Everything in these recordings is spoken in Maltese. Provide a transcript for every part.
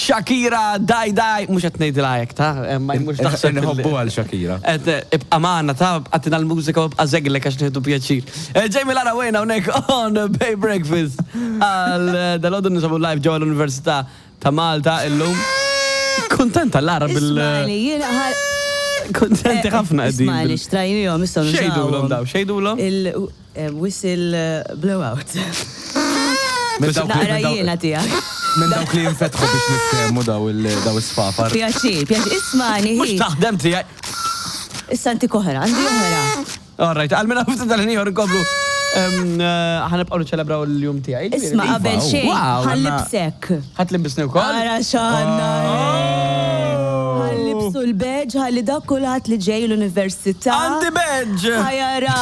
Shakira, Daj Daj, mhux qed ngħidilha hekk ta' eh, ma mhux taħseb. Inħobbu għal Shakira. Qed eh, ibqa' magħna ta' għatina l-mużika u ibqa' żeglek għax nieħdu pjaċir. Eh, Jamie Lara wejna hawnhekk on Bay Breakfast għal dal-għodu nisabu live ġewwa l-Università ta' Malta illum. Kuntenta Lara bil. Ismani, jiena ħal. Kuntenti ħafna qegħdin. Ismani, xtrajnihom issa Xejdulhom daw, xejdulhom? Il-whistle blowout. Minn dawk li- Naqra minn dawk- jiena tiegħek. Minn dawk li jinfetħu biex niftehmu daw il- daw is-sfafar. Pjaċir, pjaċir. Ismani, Mhux hi. taħdem tiegħi. Issa ntik oħra, għandi oħra. All right, għal minna ftit tal-ħin nkomplu. Ħanibqgħu niċċelebraw l-jum tiegħi. Isma' qabel xejn, Wow, ħallibsek. Ħadd libbisni wkoll. Ara x'għandna. Ħallibsu l-badge, ħalli dak kulħadd li ġej l-università. Għandi badge! Ħajara.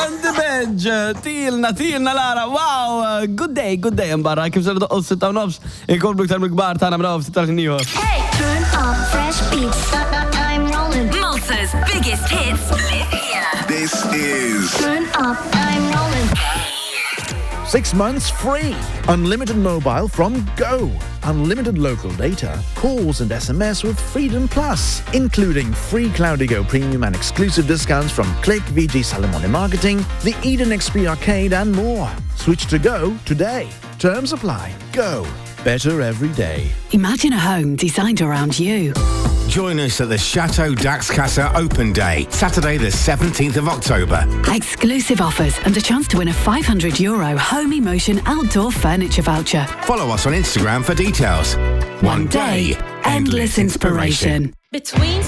Għandi badge! Tilna, tilna Lara, wow! Good day, good day barra, kif se doqqu sitta u nofs, inkomplu iktar mill-kbar tagħna mraw ftit tal-ħin ieħor. Hey! Turn up fresh beats. I'm rolling. Malta's biggest hits live here. This is Turn up. I'm rolling. 6 months free. Unlimited mobile from Go. Unlimited local data, calls and SMS with Freedom Plus, including free Cloudigo Premium and exclusive discounts from Click, VG Salamone Marketing, the Eden XP Arcade and more. Switch to Go today. Terms apply. Go. Better every day. Imagine a home designed around you. Join us at the Chateau Dax Casa Open Day, Saturday the 17th of October. Exclusive offers and a chance to win a €500 Home Emotion outdoor furniture voucher. Follow us on Instagram for details. One day, endless inspiration. Between